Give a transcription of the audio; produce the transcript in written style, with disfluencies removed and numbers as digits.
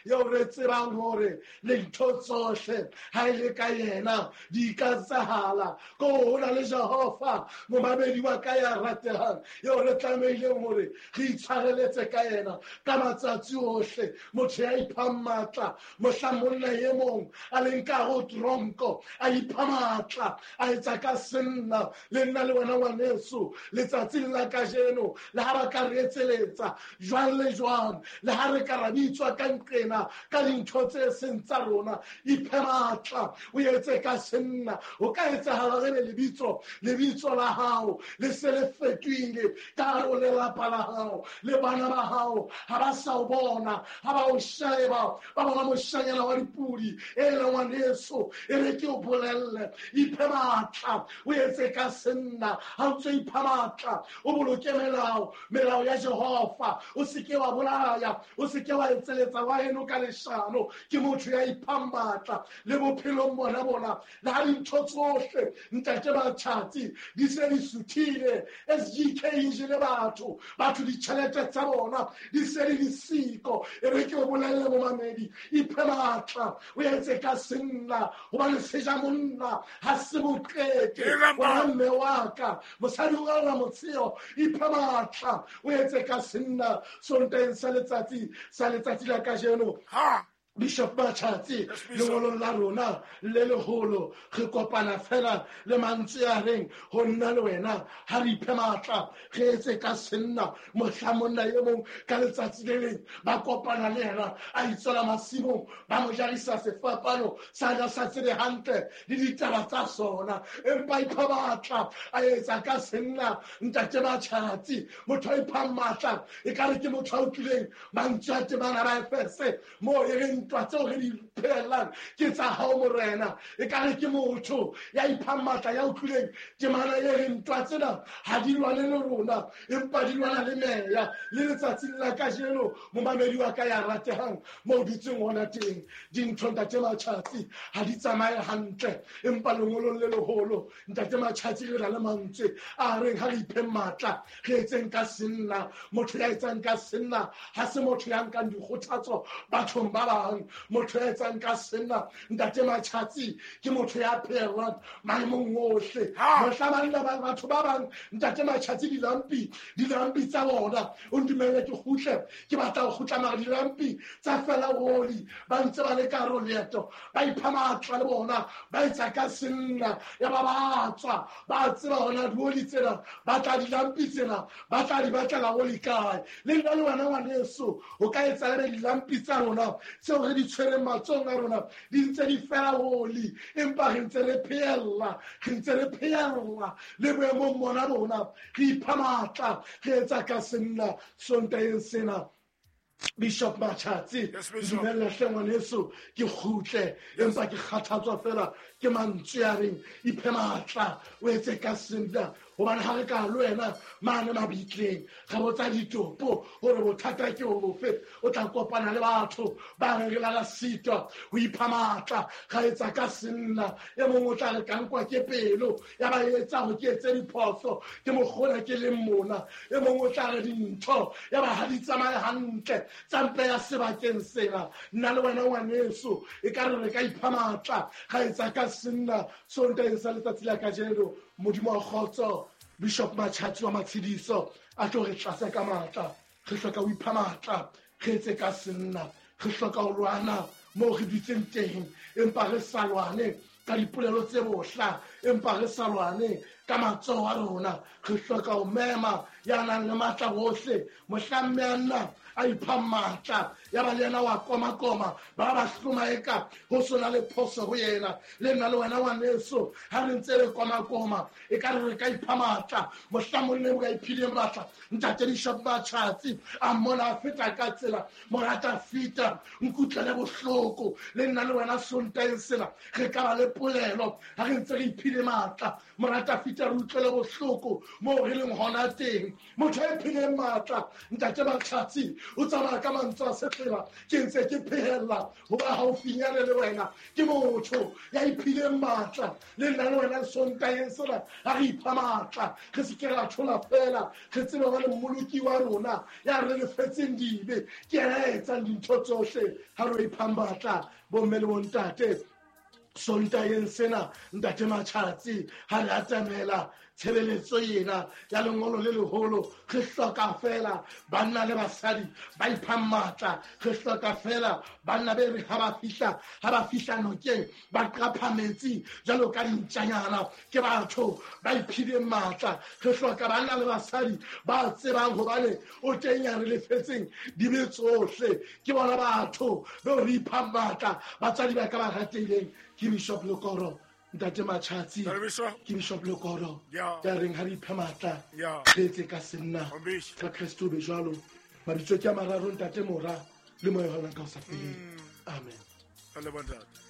Eo re tsebang hore lintho tsohle ha e le ka yena di ka tsahala ko ho na le Jehova momamedi wa ka ya ratehang eo re tlamehileng hore re itshwareletse ka yena ka matsatsi ohle. Motho ya iphang matla mohla monna e mong a leng ka ho tronko a ipha matla a etsa ka senna le nna le wena ngwaneso letsatsing la kajeno le ha ba ka re etseletsa jwang le jwang le ha re ka ra bitswa ka nqena ka dintho tse seng tsa rona iphe matla o etse ka senna. O ka etsahala re be lebitso la hao le se le fetohile ka hare ho lelapa la hao le bana ba hao ha ba sa o bona ha ba o sheba ba bona moshanyana wa dipudi e le ngwaneso e re ke o bolelle iphe matla o etse ka senna. Ha o ntse ipha matla o boloke melao ya Jehova o seke wa bolaya o seke wa etseletsa wa heno ka leshano. Ke motho ya iphang matla le bophelong bona bona le ha dintho tsohle ntate Matjhatsi di se di suthile. SGK e jele batho ditjhelete tsa bona di se di le siko. E re ke o bolelle momamedi iphe matla o etse ka senna hobane seja monna ha se boqete. Wena mme wa ka mosadi o ka motsheo iphe matla o etse ka senna. Sontaheng sa letsatsi la kajeno Bishop Matjhatsi lengolong la rona le leholo re kopana fela le mantswe a reng ho nna le wena ha re iphe matla re etse ka senna. Mohla monna e mong ka letsatsi le leng ba kopana le yena a itswela masimong ba mo jarisa sefapano sa ja sa tsebe hantle le ditaba tsa sona empa ipha matla a etsa ka senna. Ntate Matjhatsi motho a iphang matla e ka re ke motho a utlwileng mantswe a temana ba Efese mo e reng ntwa tseo re di phelang ke tsa hao morena. E ka re ke motho ya iphang matla ya utlwileng temana e reng ntwa tsena ha di lwane le rona empa di lwana le meya. Le letsatsing la kajeno momamedi wa ka ya ratehang mo o dutseng hona teng dintho ntate Matjhatsi ha di tsamaye hantle empa lengolong le leholo ntate Matjhatsi re na le mantswe a reng ha re ipheng matla re etseng ka senna. Motho ya etsang ka senna ha se motho ya nkang dikgothatso bathong ba bang. Motho ya etsang ka senna ntate Matjhatsi ke motho ya phehellang maemong ohle. Mohla banna ba batho ba bang ntate Matjhatsi dilampi tsa bona o ntumelle ke kgutle ke batla ho kgutla mara dilampi tsa fela oli ba ntse ba le ka hare ho leeto ba ipha matla le bona ba etsa ka senna ya ba ba tswa ba tseba hona dioli tsena ba tla dilampi tsena ba tla di batlela oli kae. Le nna le wena ngwaneso o ka etsa le dilampi tsa rona tseo re di tshwereng matsohong a rona di ntse di fela oli empa re ntse re phehella le boemong bona rona re ipha matla re etsa ka senna. Sontaheng sena Bishop Matjhatsi dumella hle ngwaneso ke kgutle empa ke kgathatswa fela ke mantswe a reng iphe matla o etse ka senna. Hobane ha re ka le wena mane mabitleng re botsa ditopo hore bothata ke bofe o tla kopana le batho ba reng re la sitwa ho ipha matla ra etsa ka senna. E mong o tla re ka nkwa ke pelo ya ba etsa ho ke etse diphoso ke mokgona ke leng mona. E mong o tla re dintho ya ba ha di tsamaye hantle tsa mpe ya sebakeng sena. Nna le wena ngwaneso e ka re ka ipha matla ra etsa ka senna. Sontaheng sa letsatsi la kajeno Modimo wa kgotso Bishop Matjhatsi wa Matshediso a tlo re tlatse ka matla. Re hloka ho ipha matla re etse ka senna. Re hloka ho lwana moo re dutseng teng empa re sa lwane ka dipolelo tse bohla empa re sa lwane ka matsoho a rona. Re hloka ho mema ya nang le matla ohle mohla mme a nna a ipha matla ya ba le yena wa komakoma ba ba hlomaeka ho sona le phoso ho yena. Le nna le wena ngwaneso ha re ntse re komakoma e ka re re ka ipha matla mohla monna o ka iphileng matla ntate Bishop Matjhatsi a mmona a feta ka tsela morata fita nkutlele bohloko. Le nna le wena Sontaheng sena re ka ba le polelo ha re ntse re iphile matla. Morata fita Davida re utlwele bohloko moo re leng hona teng. Motho a iphileng matla, Ntate Matšhatsi, o tsamaya ka mantswe a sefela, ke ntse ke phehella ho ba haufinyane le wena. Ke motho ya iphileng matla, le nna le wena Sontaheng sena ha re ipha matla, re se ke ra thola fela, re tsebe hobane Mmoloki wa rona ya re lefetseng dibe ke yena ya etsang dintho tsohle. Ha re iphang matla, bomme le bontate, Sontaheng sena, Ntate Matšhatsi, ha re atamela tshebeletso ena ya lengolo le leholo, re hloka fela banna le basadi ba iphang matla. Re hloka fela banna be re ha ba fihla, ha ba fihla nokeng ba qapha metsi jwalo ka dintjanyana. Ke batho ba iphileng matla. Re hloka banna le basadi ba tsebang hobane o teng ya re lefetseng dibe tsohle. Ke bona batho beo re iphang matla. Batswadi ba ka ba ratehileng, ke Bishop Lekoro, Ntate Matšhatsi, ke Bishop Lekoro ya reng ha re iphe matla, re etse ka senna ka Kreste o be jwalo. Mabitso ke a mararo, Ntate, Mora le Moya o hallang ka ho sa feleng. Amen.